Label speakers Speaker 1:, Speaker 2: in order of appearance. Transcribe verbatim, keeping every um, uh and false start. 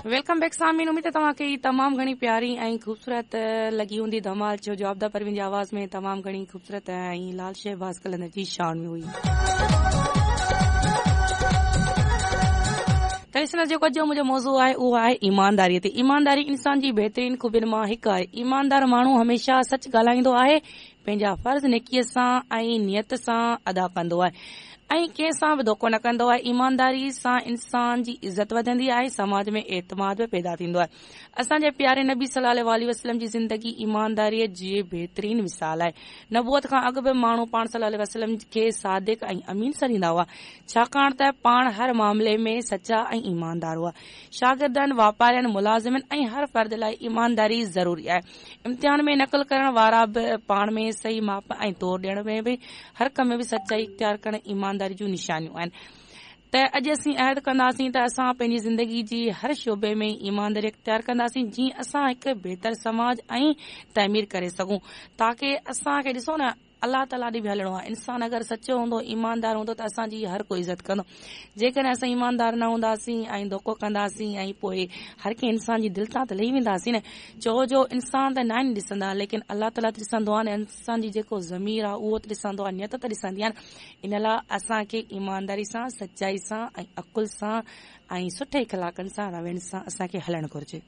Speaker 1: Welcome back سامعين، اميد توهان کي تمام گهڻي پياري ۽ خوبصورت لڳي هوندي ڌمال ڇو جو عابده پروين جي آواز ۾ تمام گهڻي خوبصورت ۽ لال شهباز قلندر جي شان ۾ هئي. ته ڏسڻ جيڪو اڄ جو منهنجو موضوع آهي اهو آهي ايمانداري تي. ايمانداري انسان جي بهترين خوبين مان هڪ آهي. ايماندار ماڻهو هميشه سچ ڳالهائيندو آهي، پنهنجا فرض نيڪيء سان ۽ نيت سان ادا ڪندو آهي ۽ ڪنهن سان به ڌوڪو نه ڪندو آهي. ايمانداري سان انسان جي عزت وڌندي آهي، سماج ۾ اعتماد به پيدا ٿيندو آهي. اسان جي پياري نبي صلي الله عليه وسلم جي زندگي ايمانداريء جي بهترين مثال آهي. نبوت کان اڳ به ماڻهو پاڻ صلي الله عليه وسلم کي صادق ۽ امين سڏيندا هئا، ڇاڪاڻ ته پاڻ هر معاملي ۾ سچا ۽ ايماندار هئا. شاگردن، واپارين، ملازمن ۽ هر فرد لاء ايمانداري ضروري آهي. امتحان ۾ نقل ڪرڻ وارا به پاڻ ۾ صحيح ماپ ۽ تور ڏيڻ ۾ به هر ڪم ۾ به سچائي اختيار ڪرڻ ايمانداري جون نشانيون آهن. ته اڄ اسين عهد ڪنداسين ته اسان پنهنجي زندگي جي هر شعبي ۾ ايمانداري اختيار ڪنداسين، جيئن اسان هڪ بهتر سماج ۽ تعمير ڪري سگهون، تاڪه اسان کي ڏسو نه الله تعاليٰ ڏي به هلڻو آهي. انسان اگر سچو هوندو، ايماندار هوندو ته اسان جي هر ڪوئي عزت ڪندو. جيڪڏهن اسان ايماندار نه هونداسين ۽ ڌوڪو ڪنداسين ۽ پوء هر ڪنهن انسان جي دل تان ته لهي وينداسين نه، ڇو جو انسان ته ناهن ڏسندا، ليڪن الله تعاليٰ ته ڏسندو آهي نه. انسان جي جيڪو ضمير آهي اهو ته ڏسندو آهي، نيت ته ڏسندي آهي نه. ان لاء اسان کي ايمانداري سان، سچائي سان ۽ عقل سان ۽ سٺي اخلاقن سان، روين سان اسان کي هلڻ گهرجي.